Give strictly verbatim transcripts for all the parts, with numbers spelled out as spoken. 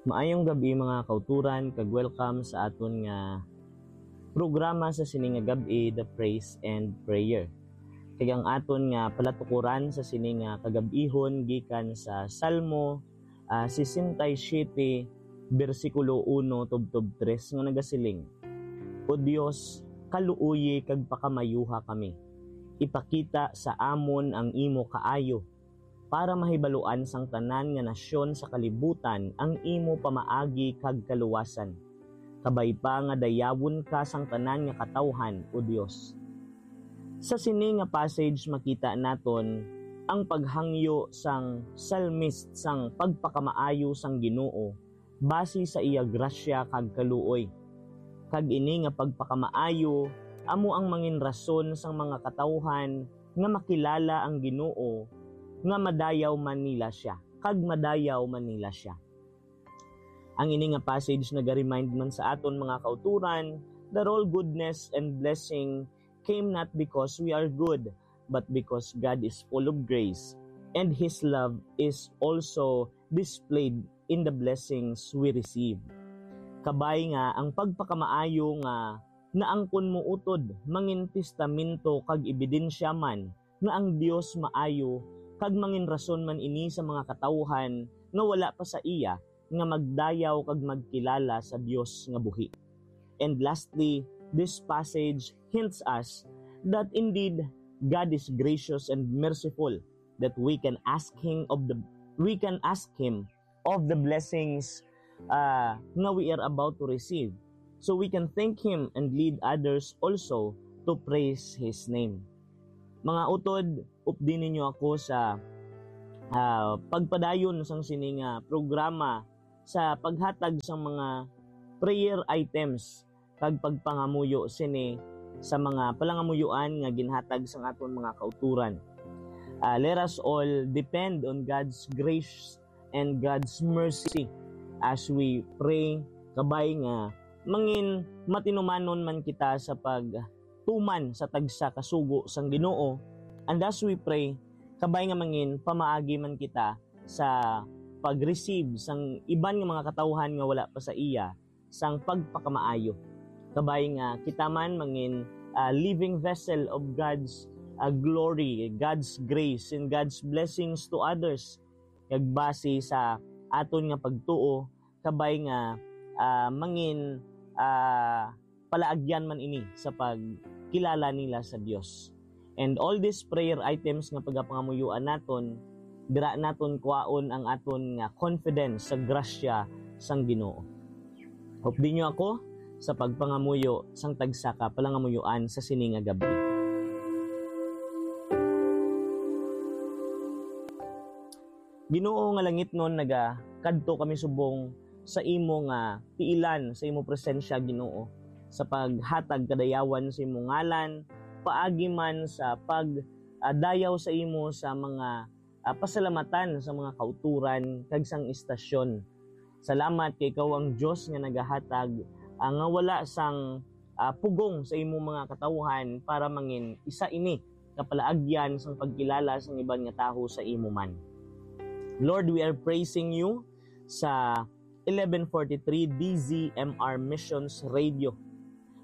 Maayong gab-i, mga kauturan, kag welcome sa aton nga programa sa sini nga gab-i, The Praise and Prayer. Kag ang aton nga palatukuran sa sini nga kagab-ihon gikan sa Salmo, ah, sesenta y siete, bersikulo uno tubtob tres, nga nagasiling: "O Dios, kaluoyi kag pakamayuha kami. Ipakita sa amon ang imo kaayo, para mahibaluan sang tanan nga nasyon sa kalibutan ang imo pamaagi kag kaluwasan. Kabay pa nga dayawon ka sang tanan nga katawhan, O Dios." Sa sini nga passage, makita naton ang paghangyo sang psalmist sang pagpakamaayo sang Ginoo basi sa iya grasya kag kaluoy. Kag ini nga pagpakamaayo amo ang mangin rason sang mga katawhan nga makilala ang Ginoo, nga madayaw man nila sia, kag madayaw man nila sia. Ang ini nga passage naga-remind man sa aton, mga kauturan, that all goodness and blessing came not because we are good, but because God is full of grace, and His love is also displayed in the blessings we receive. Kabay nga ang pagpakamaayo nga naangkon mo utod mangin testamento kag ebidensya man nga ang Dios maayo, kag mangin rason man ini sa mga katawuhan nga wala pa sa iya nga magdayaw kag magkilala sa Dios nga buhi. And lastly, this passage hints us that indeed God is gracious and merciful, that we can ask him of the we can ask him of the blessings, uh, nga we are about to receive, so we can thank him and lead others also to praise his name. Mga utod, updi ninyo ako sa, ah, pagpadayon sang sini nga programa sa paghatag sang mga prayer items kag pagpangamuyo sini sa mga palangamuyoan nga ginhatag sang aton mga kauturan. Ah, let us all depend on God's grace and God's mercy as we pray, kabay nga mangin matinumanon man kita sa pagtuman sa tagsa ka sugo sang Ginoo, and as we pray, kabay nga mangin pamaagi man kita sa pag-receive sang iban nga mga katawhan nga wala pa sa iya sang pagpakamaayo. Kabay nga kita man mangin, ah, living vessel of God's, ah, glory, God's grace, and God's blessings to others. Kag base sa aton nga pagtuo, kabay nga, ah, mangin, ah, palaagyan man ini sa pagkilala nila sa Dios. And all these prayer items nga pagapangamuyoan naton, dira naton kuhaon ang aton nga confidence sa grasya sang Ginoo. Updi niyo ako sa pagpangamuyo sang tagsa ka palangamuyoan sa sini nga gab-i. Ginoo nga langitnon, nagakadto kami subong sa imo nga tiilan, sa imo presensya, Ginoo, sa paghatag kadayawan sa imo ngalan, paagi man sa pag, ah, dayaw sa imo sa mga, ah, pasalamatan sa mga kauturan kag sang istasyon. Salamat kay ikaw ang Dios nga nagahatag, ah, nga wala sang, ah, pugong sa imo mga katawuhan para mangin isa ini ka palaagyan sang pagkilala sang iban nga tawo sa imo man. Lord, we are praising you sa eleven forty-three D Z M R Missions Radio,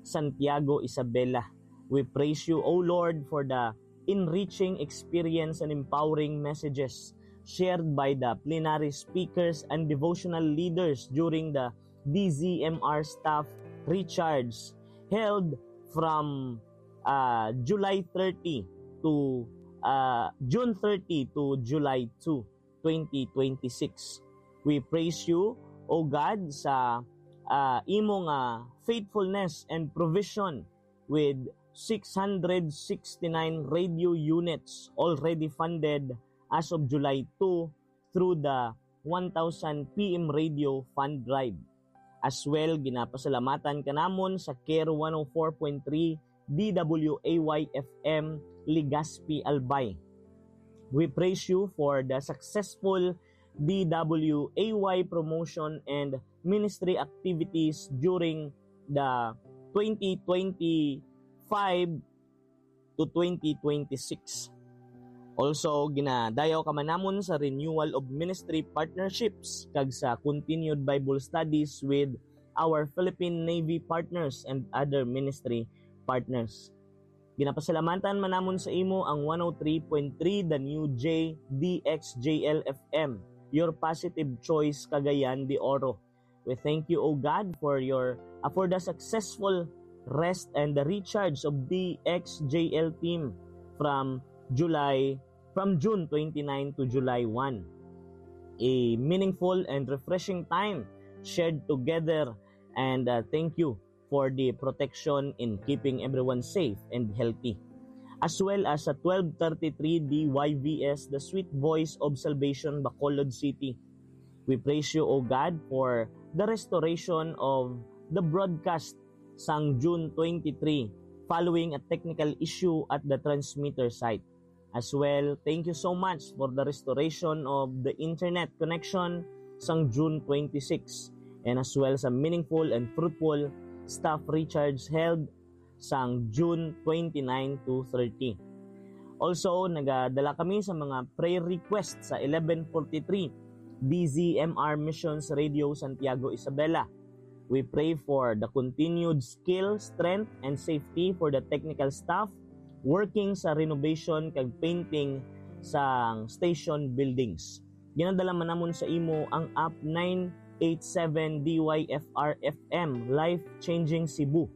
Santiago, Isabela. We praise you, O Lord, for the enriching experience and empowering messages shared by the plenary speakers and devotional leaders during the D Z M R staff recharge held from, uh, July thirty to, uh, June thirty to July two, twenty twenty-six. We praise you, O God, sa, uh, imo nga faithfulness and provision with six hundred sixty-nine radio units already funded as of July two through the one thousand P M Radio Fund Drive. As well, ginapasalamatan ka namon sa Care one oh four point three D W A Y F M Legazpi, Albay. We praise you for the successful D W A Y promotion and ministry activities during the twenty twenty-five to twenty twenty-six. Also, ginadayaw ka man namon sa renewal of ministry partnerships kag sa continued Bible studies with our Philippine Navy partners and other ministry partners. Ginapasalamatan man namon sa imo ang one oh three point three The New J D X J L F M, your positive choice, Cagayan de Oro. We thank you, O God, for your uh, for the successful rest and the recharge of D X J L team from July from June twenty-nine to July one. A meaningful and refreshing time shared together, and uh, thank you for the protection in keeping everyone safe and healthy. As well as sa twelve thirty-three D Y V S, The Sweet Voice of Salvation, Bacolod City. We praise you, O God, for the restoration of the broadcast sang June twenty-three following a technical issue at the transmitter site. As well, thank you so much for the restoration of the internet connection sang June twenty-six, and as well sa meaningful and fruitful staff recharge held sang June twenty-nine to thirty. Also, nagadala kami sa mga prayer request sa eleven forty-three D Z M R Missions Radio Santiago Isabela. We pray for the continued skill, strength, and safety for the technical staff working sa renovation kag painting sa station buildings. Ginadala man namon sa imo ang App nine eight seven D Y F R F M, Life Changing Cebu.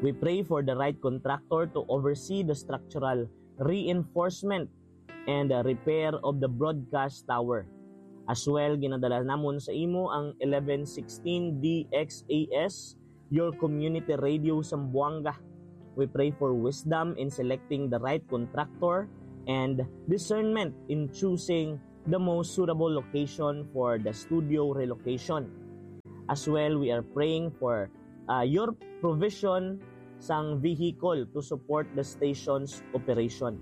We pray for the right contractor to oversee the structural reinforcement and uh, repair of the broadcast tower. As well, ginadala namon sa imo ang eleven sixteen D X A S, your community radio Zamboanga. We pray for wisdom in selecting the right contractor and discernment in choosing the most suitable location for the studio relocation. As well, we are praying for uh, your provision sang vehicle to support the station's operation.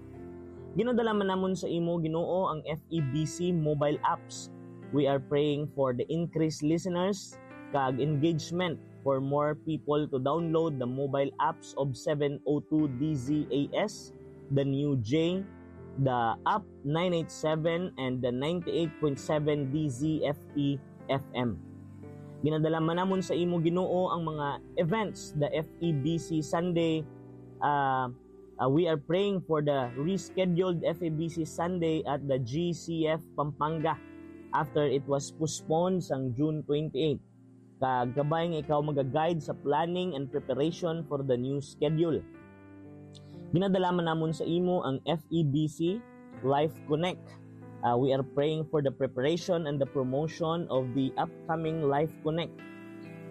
Ginadala man namon sa imo, Ginoo, ang F E B C mobile apps. We are praying for the increased listeners kag engagement for more people to download the mobile apps of seven oh two D Z A S, the New J, the App nine eight seven, and the ninety-eight point seven D Z F E F M. Ginadala man namon sa imo, Ginoo, ang mga events, the F E B C Sunday. Uh, uh, we are praying for the rescheduled F E B C Sunday at the G C F Pampanga after it was postponed sang June twenty-eight. Kag kabay nga ikaw magaguide sa planning and preparation for the new schedule. Ginadala man namon sa imo ang F E B C Life Connect. Uh, we are praying for the preparation and the promotion of the upcoming Life Connect.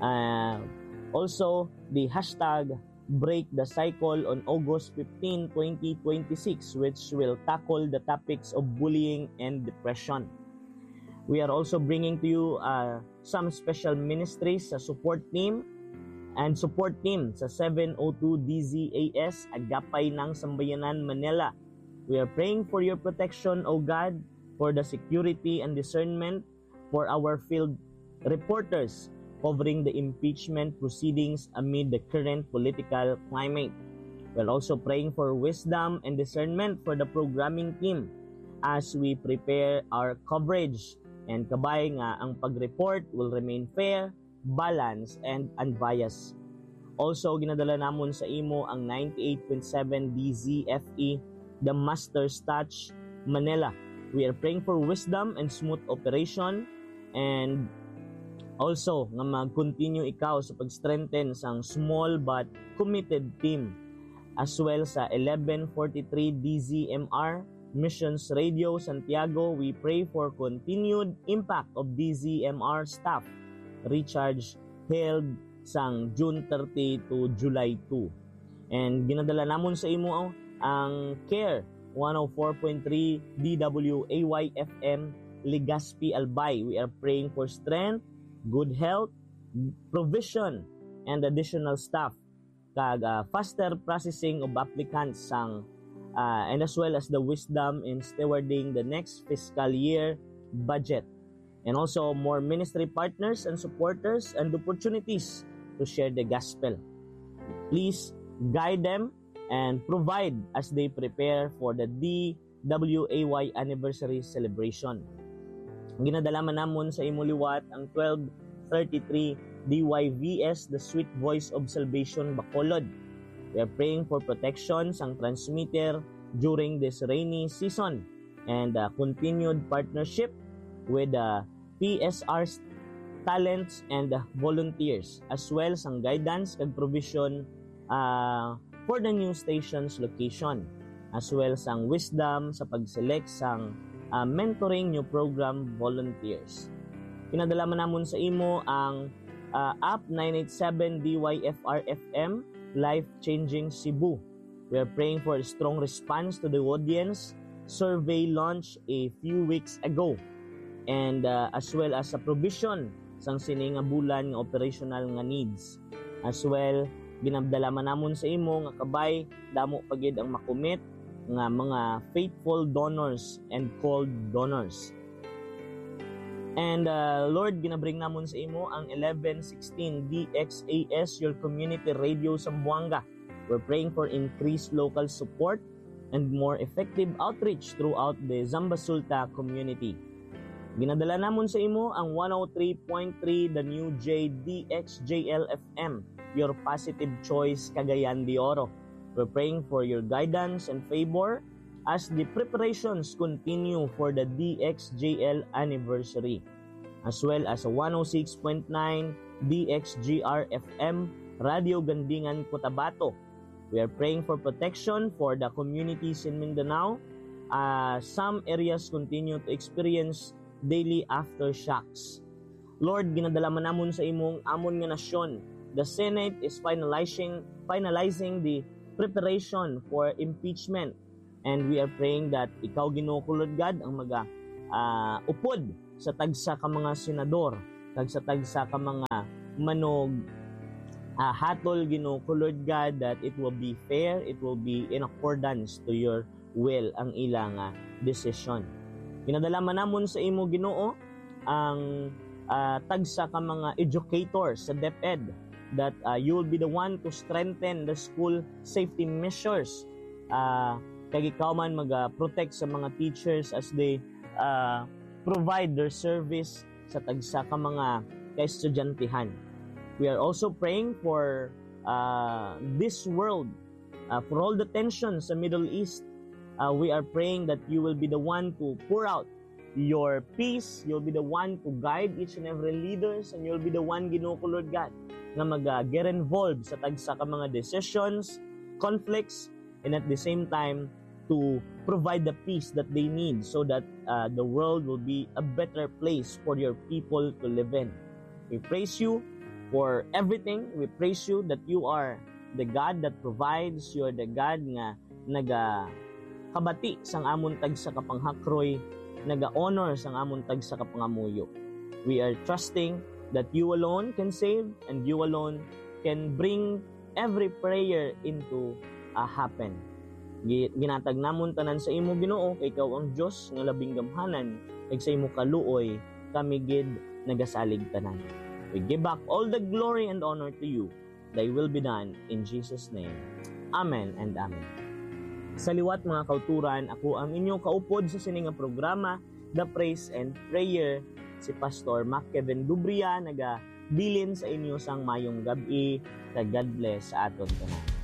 Uh, also, the hashtag Break the Cycle on August fifteen, twenty twenty-six, which will tackle the topics of bullying and depression. We are also bringing to you uh, some special ministries sa support team and support team sa seven oh two D Z A S Agapay ng Sambayanan, Manila. We are praying for your protection, O God, for the security and discernment for our field reporters covering the impeachment proceedings amid the current political climate. We're also praying for wisdom and discernment for the programming team as we prepare our coverage and kabay nga ang pag-report will remain fair, balanced, and unbiased. Also, ginadala namon sa imo ang ninety-eight point seven D Z F E, The Master's Touch, Manila. We are praying for wisdom and smooth operation, and also nga mag-continue ikaw sa pag-strengthen sang small but committed team. As well sa eleven forty-three D Z M R, Missions Radio Santiago, we pray for continued impact of D Z M R staff recharge held sang June thirty to July two. And ginadala namon sa imo ang Care one oh four point three D W A Y F M Legazpi, Albay. We are praying for strength, good health, provision, and additional staff kag uh, faster processing of applicants sang uh, and as well as the wisdom in stewarding the next fiscal year budget, and also more ministry partners and supporters and opportunities to share the gospel. Please guide them and provide as they prepare for the D W A Y anniversary celebration. Ginadala man namon sa imo liwat ang twelve thirty-three D Y V S, The Sweet Voice of Salvation, Bacolod. We are praying for protection sang transmitter during this rainy season and, uh, continued partnership with, uh, P S R's talents and volunteers, as well sang guidance kag provision, uh, for the new station's location, as well sang wisdom sa pag-select sang, uh, mentoring new program volunteers. Pinadala man namon sa imo ang, uh, app nine eight seven D Y F R F M, Life Changing Cebu. We are praying for a strong response to the audience survey launch a few weeks ago, and, uh, as well as sa provision sang sini nga bulan nga operational nga needs. As well, ginadala man namon sa imo nga kabay, damo pa gid ang makumit nga mga faithful donors and called donors. And, uh, Lord, ginabring namon sa imo ang eleven sixteen D X A S, your community radio Zamboanga. We're praying for increased local support and more effective outreach throughout the Zambasulta community. Ginadala namon sa imo ang one oh three point three The New J D X J L F M, your positive choice, Cagayan de Oro. We're praying for your guidance and favor as the preparations continue for the D X J L anniversary, as well as one oh six point nine D X G R F M, Radio Gandingan, Cotabato. We are praying for protection for the communities in Mindanao. Uh, some areas continue to experience daily aftershocks. Lord, ginadala man namon sa imong amon nga nasyon. The Senate is finalizing finalizing the preparation for impeachment. And we are praying that ikaw, Ginoo ko, Lord God, ang maga, ah, upod sa tagsa ka mga senador, kag sa tagsa ka mga manog, ah, hatol, Ginoo ko, Lord God, that it will be fair, it will be in accordance to your will ang ila nga desisyon. Ginadala man namon sa imo, Ginoo, ang, ah, tagsa ka mga educator sa DepEd, that, ah, you will be the one to strengthen the school safety measures. Ah, kag ikaw man mag-protect sa mga teachers as they, ah, provide their service sa tagsa ka mga kaestudyantihan. We are also praying for, ah, this world, ah, for all the tensions sa Middle East. Ah, we are praying that you will be the one to pour out your peace. You'll be the one to guide each and every leaders, and you'll be the one, Ginoo ko, Lord God, nga mag, ah, get involved sa tagsa ka mga decisions, conflicts, and at the same time, to provide the peace that they need so that, uh, the world will be a better place for your people to live in. We praise you for everything. We praise you that you are the God that provides. You are the God nga nagakabati sang amon tagsa ka panghakroy, naga-honor sang amon tagsa ka pangamuyo. We are trusting that you alone can save and you alone can bring every prayer into a happen. Gi-, ginatag namon tanan sa imo, Ginoo, kay ikaw ang Dios nga labing gamhanan, kag sa imo kaluoy kami gid nagasalig tanan. We give back all the glory and honor to you. Thy will be done in Jesus' name. Amen and amen. Sa liwat, mga kauturan, ako ang inyo kaupod sa sini nga programa, The Praise and Prayer, si Pastor Mac Kevin Dubria, nagabilin sa inyo sang mayong gab-i, kag God bless sa aton tanan.